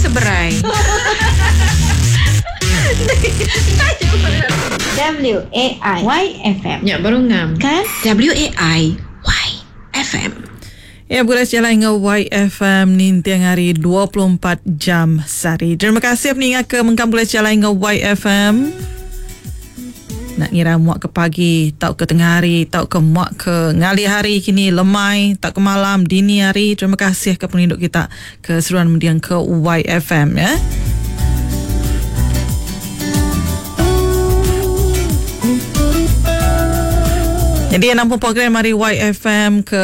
seberai. W A I Y F M. Nya baru ngam. Kan? W A I Y F M. Ya, begulai sejalai enggau YFM ninting hari 24 jam sehari. Terima kasih peninga ke mengkang begulai sejalai enggau YFM. Nak ngira muak ke pagi, tau ke tengah hari, tau ke muak ke ngalih hari kini lemai, tau ke malam, dini hari. Terima kasih ke pengerindu kita ke seruan mendiang ke YFM ya. Jadi yang nampung program hari YFM ke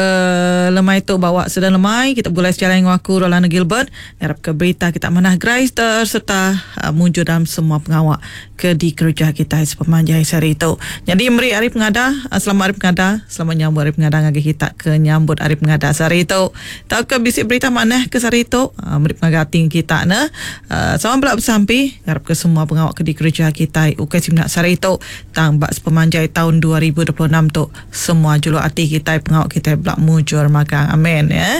lemai tu bawa sedang lemai kita bergulai sejalan dengan aku Rolanda Gilbert ngarap ke berita kita manah gerai serta mujur dalam semua pengawak ke dikerja kita sepemanjai sehari itu. Jadi meri hari pengada, selamat hari pengada, selamat nyambut hari pengada ngagai kita ke nyambut hari pengada sehari itu. Tau ke bisi berita manah ke sehari itu, meri pengaga ati kita ne. Sama bela besampi ngarap ke semua pengawa ke dikereja kitai ukai semina sehari tu tang ba sepemanjai taun 2026 tu semua juluk ati kitai pengawa kitai bela mujur magang. Amen ya.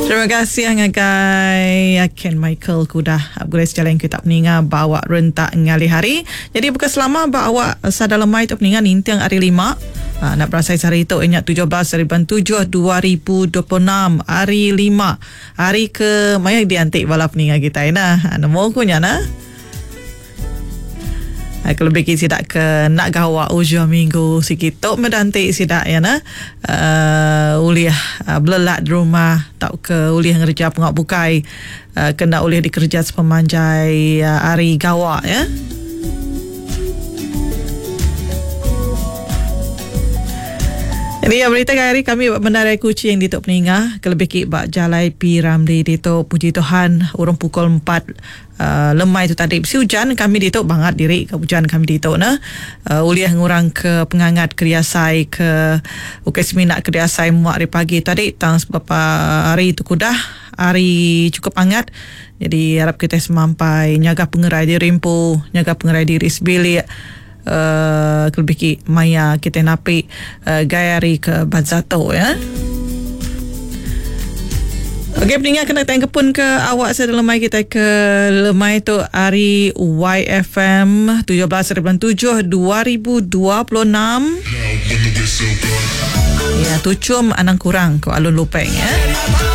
Terima kasih ngagai Ken Michael ke udah begulai sejalai enggau kita peninga ba awak rentak ngalih hari. Jadi buka selama ba awak sada lemai tu peninga ninting hari lima. Enda berasai sehari tu iya nya 17 hari bulan 7 2026 hari lima. Hari ke mayuh dianti bala peninga kitai nah. Nemu ku nya nah. Kelebih agi sida ke enda gawa ujung minggu sigi tu meh dianti sida iya nah uhh ulih belelak di rumah tauka ulih ngereja pengawa bukai ke enda ulih dikereja sepemanjai hari gawa ya. Jadi ya berita hari kami ba Bandaraya Kuching ditu peninga kelebih agi ba Jalai P Ramli ditu puji Tuhan urung pukul empat uhh lemai tu tadi bisi ujan kami ditu bangat diri ka ujan kami ditu ne uhh ulih ngurang ke pengangat ke diasai ke ukai semina ke diasai muak ari pagi tadi tang beberapa hari tu ke udah hari chukup angat jadi arap kitai semampai nyaga pengerai diri empu nyaga pengerai diri sebilik. Uhh kelebih agi maya kitai napi gaya hari ke bansa tu ya. Okey peninga kena tayang kepun ke awak saya dalam lemai kitai ke lemai tu hari YFM 17 hari bulan 7 2026. Ya tuchum anang kurang ko alun lupeng ya.